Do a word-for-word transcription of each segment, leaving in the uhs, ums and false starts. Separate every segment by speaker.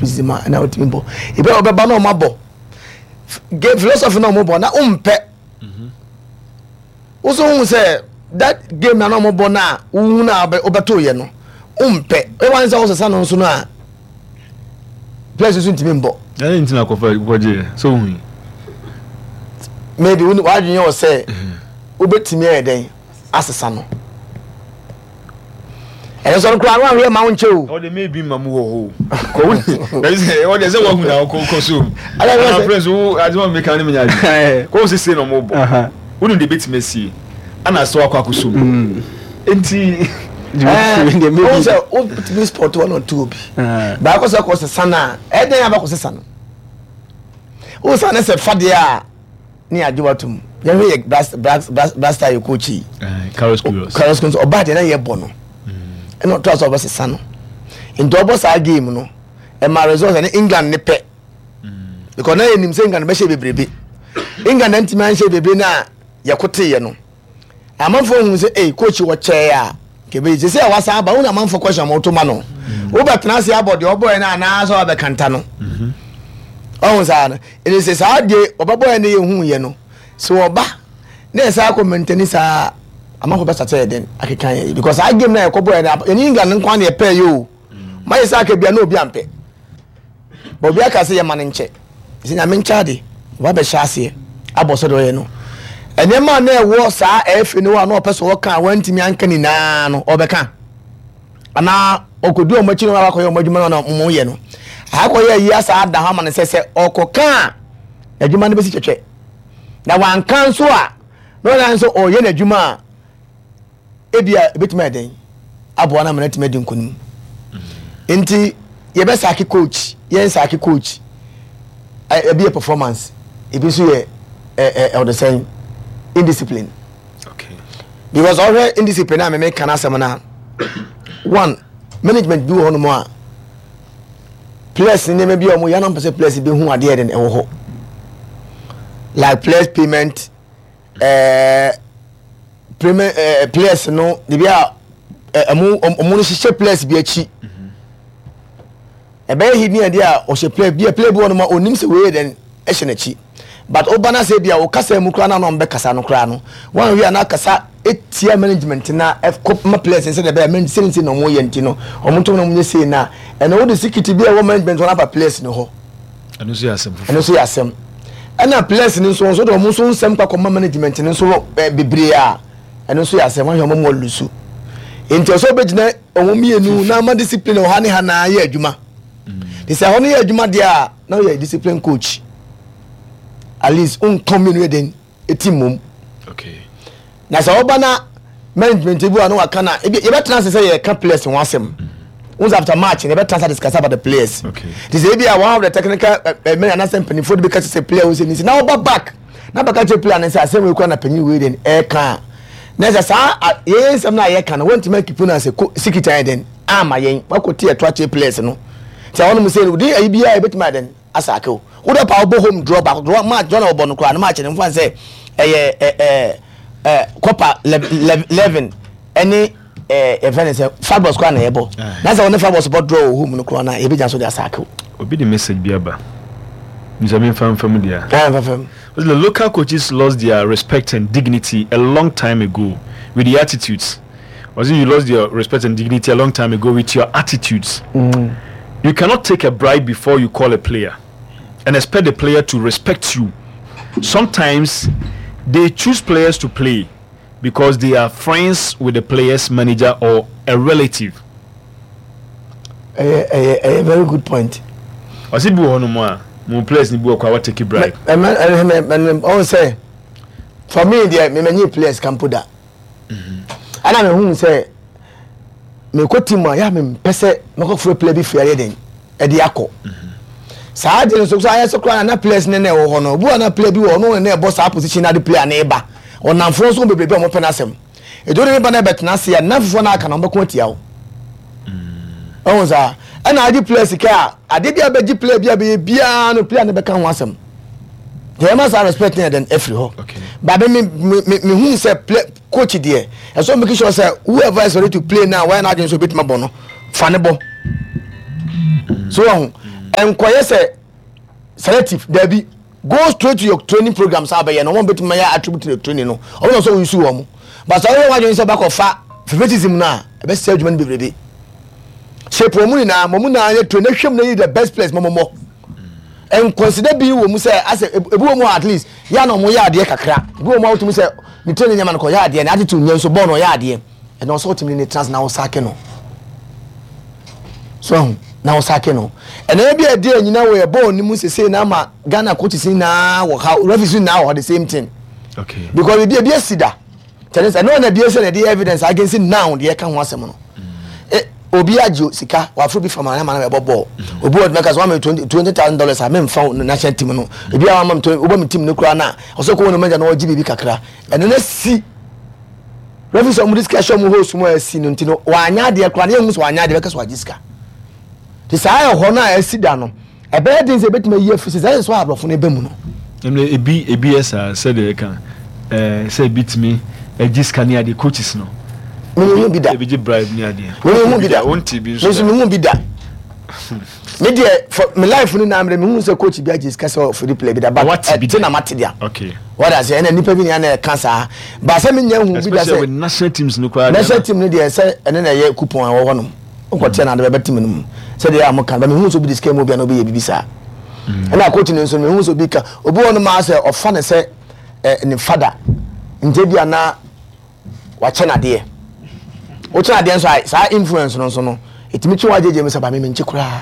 Speaker 1: Pre-season ma ɛna wotumi bɔ. Ebi a ɔbɛba na ɔmo abɔ game philosophy na ɔmo bɔ na ɔmpɛ woso hu sɛ that game na na ɔmo bɔ na wohu na wobɛto yɛ no, ɔmpɛ. Ɛwɔ sɛ wosesa no nso no a, players nso ntumi mbɔ.
Speaker 2: Ɛne ntina kɔfa kɔgye sɛ wohu yi.
Speaker 1: Maybe wo wadwene wɔ sɛ wobɛtumi ayɛ dɛn asesa no. Ɛno nso no koraa no ahwɛ ma wo nkyɛ o.
Speaker 2: Ɔde maybe ma mu wɔ hɔ o, ɔde sɛ wahu na ɔkɔ so.
Speaker 1: Ala,
Speaker 2: ana friends wo ade ma meka ne menya adwene kɔ wo sese na ɔmo bɔ, wonim de bɛtumi asie ana sɛ wakɔ akɔ so mu nti.
Speaker 1: Wo sɛ wotumi spot one or two bi baako sɛ kɔ sesa no a, ɛdɛn abɛkɔ sesa no, wosa ne sɛ fadeɛ a ne agye watom. Yɛhwɛ yɛ blaster yɛ coach yi.
Speaker 2: Carlos Queiroz.
Speaker 1: Carlos Queiroz ɔbaa deɛ na yɛbɔ no, ɛna ɔtɔ sɛ ɔbɛsesa no, nti ɔbɔ saa game no, ɛma results ɛne England ne pɛ, because na yɛnim sɛ England bɛhyɛ bebrebe. England na ntumi anhyɛ bebrebe na yɛkoteeɛ no, amanfoɔ hu sɛ ee, coach wɔ kyɛɛ a kebe sɛ sɛ wasan aba wo na amanfoɔ question a wɔto ma no, wobɛtena ase abɔ deɛ ɔbɔɛ no anaasɛ wabɛkanta no. Ɔhu saa no, ɛne sɛ saa deɛ ɔbɛbɔɛ no yɛhu yɛ no sɛ ɔba na ɛsɛ akɔ mɛntɛni saa, amanfoɔ bɛsate yɛ den akeka yɛ, because saa game na yɛkɔbɔɛ no, yɛne England nkwa ne yɛpɛɛ yɛ o, mayɛ sɛ aka bia na obi ampɛ but obi aka sɛ yɛma no nkyɛ sɛ Nyame nkyɛ ade ɔba bɛhyɛ aseɛ abɔ sɛ deɛ ɔyɛ no. Nneɛma a na ɛwɔ saa ɛɛfɛ no hɔ a na ɔpɛ sɛ ɔka a wantumi anka nyinaa no, ɔbɛka anaa ɔkɔdi ɔmo akyi no akɔyɛ ɔmo adwuma no na ɔmo yɛ no akɔyɛ ayi asa ada hɔ ama no sɛ sɛ ɔkɔka a, n'adwuma no bɛsi twɛtwɛ, na wanka nso a, na ɔna nso ɔyɛ n'adwuma a ebia ebɛtumi ayɛ den aboa no ama no atumi adi nkonim. Nti yɛbɛsack coach, yɛn sack coach, ebi yɛ performance, ebi nso yɛ ɛ ɛ ɔde sɛn indiscipline.
Speaker 2: Okay.
Speaker 1: Because ɔhwɛ indiscipline a mɛmɛ kan asɛm na one management bi wɔ hɔnom a, players nneɛma bi a wɔn yɛn anam pɛ sɛ players bi hu adeɛ de ɛwɔ hɔ, like players payment, ɛɛ payment, ɛɛ players no de bi a ɛmo ɔmo no hyehyɛ players bi akyi, ɛbɛyɛ hidden adeɛ a ɔhyɛ player bi a, player bi wɔ hɔnom a onim sɛ wei yɛ dɛn ɛhyɛ n'akyi, but ɔba na sɛ bi a ɔkasa mu koraa na ɔno bɛkasa no koraa no wɔn awie a na akasa etia management na ɛkɔ ma players sɛ de ɛbɛyɛ man sɛ nse na ɔmo yɛ, nti no ɔmo ntom na ɔmo nyɛ sei na ɛna wɔde security bi a ɛwɔ management wɔn afa players no hɔ.
Speaker 2: Ɛno nso yɛ asɛm foforɔ.
Speaker 1: Ɛno nso yɛ asɛm, ɛna players no nso nso de ɔmo nso nsɛm kɔ akɔma management no nso ɛ bebree a, ɛno nso yɛ asɛm. Wɔn ahwɛ ɔmo mu ɔlusu, nti ɔsɛ ɔbɛgyina ɔmo mmienu na ama discipline wɔ ha ne ha na ayɛ adwuma te sɛ ɛhɔ no yɛ adwuma deɛ a, na ɔyɛ discipline coach, at least nka mmienu yɛ den eti mom.
Speaker 2: Okay.
Speaker 1: Na sɛ ɔba na management bi wa na waka na ebi yɛbɛtena ase sɛ yɛka players ho asɛm once after match na yɛbɛtena ase discuss about the players.
Speaker 2: Okay.
Speaker 1: Te sɛ ebi a one of the technical ɛ ɛ men anasɛ mpanyinfoɔ de bi ka kyerɛ sɛ player wo sɛ nisi na ɔba back na bɛka kyerɛ player ne sɛ asɛm wei kura na panyin wei de ɛɛka a, na sɛ saa a yɛn nsɛm na yɛka no wɔntumi akipu na sɛ ko sikita yɛ den ama yɛn wakɔ ti ɛto akyerɛ players no sɛ wɔn mo sɛ no de ayi biara yɛbɛtumi ayɛ den asack o. Wode pa wobɔ home draw baako, draw match draw na wɔbɔ no koraa no, match no mfa sɛ ɛyɛ ɛ ɛ ɛ copper eleven ɛne ɛ yɛfrɛ no sɛ Fabos koraa na yɛbɔ, na sɛ wɔne Fabos bɔ draw wɔ home no koraa na yɛbɛgyina so de asack o.
Speaker 2: Obi de message bi aba nsa memfa mfa mu deɛ.
Speaker 1: Ɛn fɛfɛm.
Speaker 2: The local coaches lost their respect and dignity a long time ago with the attitudes. Was it you lost your respect and dignity a long time ago with your attitudes?
Speaker 1: Mm.
Speaker 2: You cannot take a bribe before you call a player and expect the player to respect you. Sometimes they choose players to play because they are friends with the player's manager or a relative.
Speaker 1: Ɛyɛ ɛyɛ ɛyɛ very good point.
Speaker 2: Ɔsi bi wɔ hɔ nom a mo players ni bi wɔ kɔ a wɔtake bribe.
Speaker 1: Ɛmɛ ɛmɛ ɛmɛ ɔn sɛ for me deɛ, mɛmɛ nye players kampo da, ɛna mɛ hu sɛ mɛ kɔ team a yà mɛ mpɛ sɛ mɛ kɔ furo player bi fi ayɛ den ɛde akɔ saa de no so so ayɛ sɛ koraa na players ne na ɛwɔ hɔ no, obi wa na player bi wɔ ɔno na ɛbɔ saa position na de player ne ba ɔnamfoɔ nso bebree bi a wɔn pɛ n'asɛm edu de ne ba na ɛbɛtena ase a, nnamfoɔ na aka na wɔn bɛko atia wo. Ɔhun saa ɛna agye player sika a, ade bi a bɛgye player bi a bɛyɛ biara no, player no bɛka ho asɛm deɛ ɛma saa respect ne yɛ den afiri hɔ.
Speaker 2: Okay.
Speaker 1: Baabi mi mi mi mi hu sɛ play coach deɛ, ɛsɛ make sure sɛ whoever is ready to play now, wɔyɛ n'adwene so obetuma bɔ no, fa ne bɔ so ɔho. Nkɔyɛ sɛ selective dabi, go straight to your training program. Saa bɛyɛ no, wɔn bɛtumi ayɛ attribute to the training no, ɔmo na ɔsɛ wɔn yusu wɔn. But sɛ ɔyɛ wadwene sɛ ɔbɛkɔ fa favoritism no a, ɛbɛsɛ adwuma no bebrebe. Shape wɔn nyinaa, wɔn nyinaa yɛ train na hwɛ mu na yi the best players mɔmɔmɔ. Nconsider bi wɔ mu sɛ asɛ ebi wɔ mu at least yɛ na ɔmo yɛ adeɛ kakra. Ebi wɔ mu a wotumi sɛ ne training nyɛma no kɔ yɛ adeɛ, ne attitude nyɛ nso bɔɔl no ɔyɛ adeɛ. Ɛna ɔsɛ ɔtumi ne trans na ɔsack no so ɛho na ɔsack no. Ɛna ebi a ɛdi ɛnyina wɔ yɛ bɔɔl ne mu sese na ama Ghana coaches nyinaa wɔ ha, referees nyinaa wɔ ha, the same thing.
Speaker 2: Okay.
Speaker 1: Because ebi ebi esi da kyerɛ sɛ ɛno na ebi esi na ɛde evidence against now deɛ ɛka ho asɛm no. E obi agye sika waforo bi fama ama na bɛbɔ bɔɔl. Obi wɔ mɛka sɛ wama twenty twenty thousand dollars a memfa wo national team no. Ebi a wama mi twenty, wobɔ mi team no koraa na ɔsɛ kɔ wɔn no manager na ɔgye biribi kakra. Ɛno na si referee sɛ ɔmo de sika hyɛ ɔmo host mu a ɛsi no. Nti no wanya adeɛ koraa na yɛn ho sɛ wanya adeɛ, bɛka sɛ wagye sika. Te saa ɛhɔ no a ɛsi da no, ɛbɛyɛ den sɛ ebɛtumi ayi afiri sɛ sɛ ɛyɛ so aborɔfo no ɛbɛ mu no.
Speaker 2: Ɛnna ebi ebi yɛ saa sɛdeɛ ɛka ɛɛ sɛ ebi tumi ɛgye sika ne adeɛ, coaches no.
Speaker 1: Mehu bi da.
Speaker 2: Ebi gye bribe ne adeɛ.
Speaker 1: Mehu bi da.
Speaker 2: Wonti bi
Speaker 1: me
Speaker 2: nso
Speaker 1: nso
Speaker 2: da.
Speaker 1: Mehu bi da. Me deɛ, for me life no na mmerɛ mehu sɛ coach bi agye sika sɛ ɔfiri play bi da, but
Speaker 2: Wate bi
Speaker 1: ɛte
Speaker 2: da.
Speaker 1: na mate dea.
Speaker 2: Okay
Speaker 1: wɔde ase ɛna nipa bi nea na ɛka saa ba sɛ menya hu bi da.
Speaker 2: Especially
Speaker 1: Sɛ
Speaker 2: with national teams no koraa.
Speaker 1: National team no deɛ, sɛ ɛne na ɛyɛ coupon a ɛwɔ hɔ nom, wokɔteɛ na ade bɛbɛ team no mu sɛdeɛ a moka ba. Mehu sɛ obi de sika mu obi a na obi yɛ biribi saa. Ɛna coach no nso, mehu sɛ obi ka obi wɔ no maa sɛ ɔfa ne sɛ ɛ ne fada nti bi a na wakyɛ n'adeɛ. Wokyɛ n'adeɛ nso a, saa influence no nso no ɛtumi twe wagyegye mu sɛ ba me menkye koraa.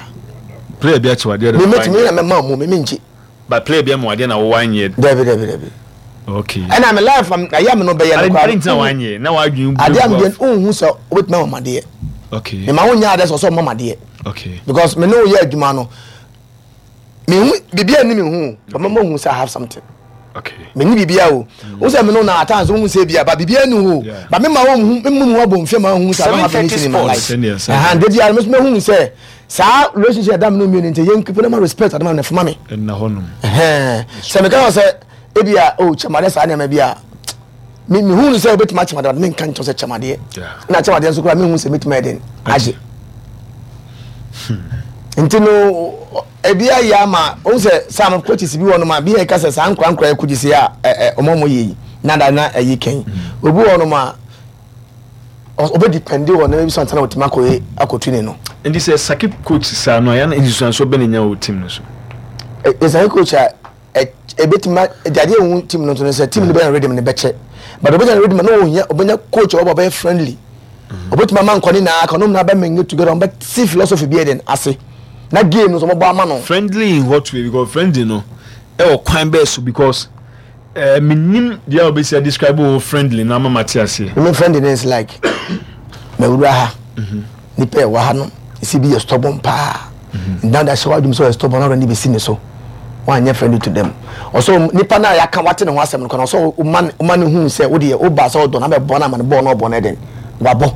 Speaker 2: Player bi akyɛ wadeɛ de.
Speaker 1: Me mɛtumi na mɛma mu me menkye.
Speaker 2: But player bi ama wadeɛ na wɔwɔ anyɛ?
Speaker 1: Dabi, dabi, dabi.
Speaker 2: Okay
Speaker 1: ɛna me life ayɛ me no bɛyɛ no
Speaker 2: ade
Speaker 1: koraa.
Speaker 2: ade ntina wanyɛ na wadwin.
Speaker 1: Adeɛ a medeɛ wonhu sɛ wobɛtumi ama madeɛ.
Speaker 2: Okay
Speaker 1: mema wo nya adeɛ sɛ ɔsɛ ɔma madeɛ.
Speaker 2: Okay
Speaker 1: because me ne wo yɛ adwuma no, mehu biribi a ni mehu but mama hu sɛ I have something.
Speaker 2: Okay
Speaker 1: meni biribi a o wo sɛ me no na at times wohu sɛ bia ba biribi ani ho.
Speaker 2: Yeah.
Speaker 1: But mema wo hu memu mu abɔ mfie ma hu sɛ I don't have anything in my life.
Speaker 2: Sɛnea- sɛnea.
Speaker 1: Ɛha de biara me nso mehu sɛ saa relationship ɛda me no mmienu nti yɛn keep na ma respect adama na fama me.
Speaker 2: Ɛnna hɔ nom.
Speaker 1: Ɛhɛn, sɛ meka wɔ sɛ ebi a o kyɛmadeɛ saa nneɛma bi a me mehu no sɛ wobɛtumi akyɛmadeɛ, but menka nkyɛw sɛ kyɛmadeɛ.
Speaker 2: Yeah.
Speaker 1: Na kyɛmadeɛ nso koraa mehu sɛ mɛtumi ayɛ den agye. Nti no ebi ayɛ ama ohun sɛ sam coaches bi wɔ nom a bi yɛ ka sɛ saa nkora nkora yɛ coaches yi a ɛ ɛ ɔmo ɔmo yɛ yi nada na ɛyi kɛn obi wɔ nom a ɔbɛ depend wɔ ne bi sɔn tɛnɛ otumi akɔ akɔ training no.
Speaker 2: Nti sɛ sack coach saa no a, yɛn nsusuanso bɛ ne nya wɔ team no so?
Speaker 1: Ɛsɛ coach a ɛ ebetumi adeɛ ehu team no nso no sɛ team no bɛyɛ rhythm ne bɛkyɛ, but ɔbɛnya rhythm na ohia ɔbɛnya coach a ɔbɛ ɔbɛyɛ friendly, ɔbɛtumi ama nkɔne na aka ɔnom na bɛ mingle together, ɔbɛ si philosophy bi yɛ den ase na game no nso ɔbɛbɔ ama no.
Speaker 2: Friendly in what way? Because friendly no ɛwɔ kwan bɛɛ so, because ɛɛ menim deɛ a wobɛsi a describe wo friendly na ama mate aseɛ.
Speaker 1: Me friendly is like mawura ha, nipa ɛwɔ ha no esi bi yɛ stubborn paa, ndan da hyɛ wadum sɛ ɔyɛ stubborn na ɔde ne bɛsi ne so, wanyɛ friendly to them. Ɔsɛ nipa na yaka wate ne ho asɛm no kɔ na ɔsɛ ɔma ɔma ne hu sɛ wodeɛ woba sɛ ɔdɔ na bɛbɔ na ama ne bɔɔl na ɔbɔ no ɛdɛn wabɔ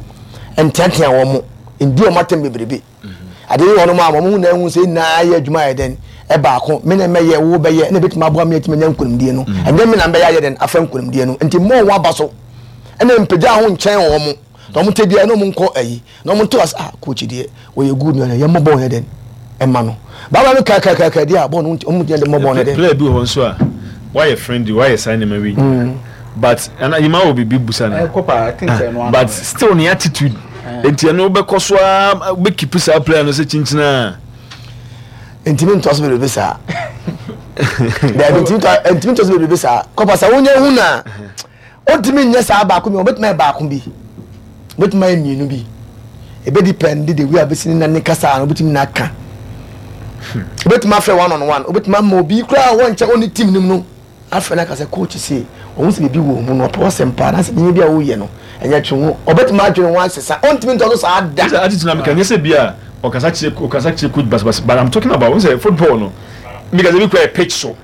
Speaker 1: nteatea wɔn mo ndi wɔn atɛm bebrebe. Adeɛ yi wɔn mo a wɔn ho na ehu sɛ nyinaa yɛ adwuma yɛ dɛn ɛbaako, me na mɛyɛ wo bɛyɛ ɛna ebɛtumi aboa mi etumi anya nkonimdie no. Ɛnyɛ me na mbɛyɛ ayɛ dɛn afa nkonimdie no. Nti mo wɔn aba so ɛna mpagya ho nkyɛn wɔn mo na wɔn te bia na wɔn nkɔ ayi na wɔn to ase. Ah, coach deɛ wɔyɛ good na yɛ mmɔ bɔɔl yɛ dɛn ɛma no baaba mi kakakaka deɛ a bɔɔl no wɔn gyina de mmɔ bɔɔl no dɛn.
Speaker 2: Player bi wɔ hɔ nso a wayɛ friendly, wayɛ saa nneɛma wi, but ɛna yìí wɔ biribi busa no.
Speaker 3: Kɔpa, I think sɛ ɛno.
Speaker 2: But still ne attitude nti ɛno wobɛkɔ so a wobɛkeep saa player no sɛ kyinkyini a.
Speaker 1: Ntumi ntɔ so bebrebe saa, dɛbi, ntumi tɔ ntumi ntɔ so bebrebe saa. Kɔpa sɛ wonyɛ hu na ontumi nyɛ saa baako bi, obetumi ayɛ baako bi, obetumi ayɛ mmienu bi. Ebe depend the way a obesi ne nan ne kasa no, obetumi na aka, obetumi afrɛ one on one, obetumi ama obi koraa a wɔnkyɛ ɔne team nim no afrɛ no aka sɛ coach se ɔho sɛ biribi wɔ mu no ɔpɛ ɔsɛm paa na sɛ nneɛma bi a woyɛ no ɛnyɛ twe ho, ɔbɛtumi adwene ho asesa. Ɔntumi ntɔ so saa da.
Speaker 2: Sɛ attitude na meka nyɛ sɛ bi a ɔkasa kyerɛ ɔkasa kyerɛ coach basabasa, but I'm talking about sɛ football no meka sɛ bi kura yɛ pitch so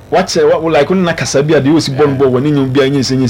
Speaker 2: wakyerɛ wa like ɔne na kasa bi a deɛ ɔsi bɔ no bɔ wɔ ne nyɛ bi a nyɛ sɛ nyɛ.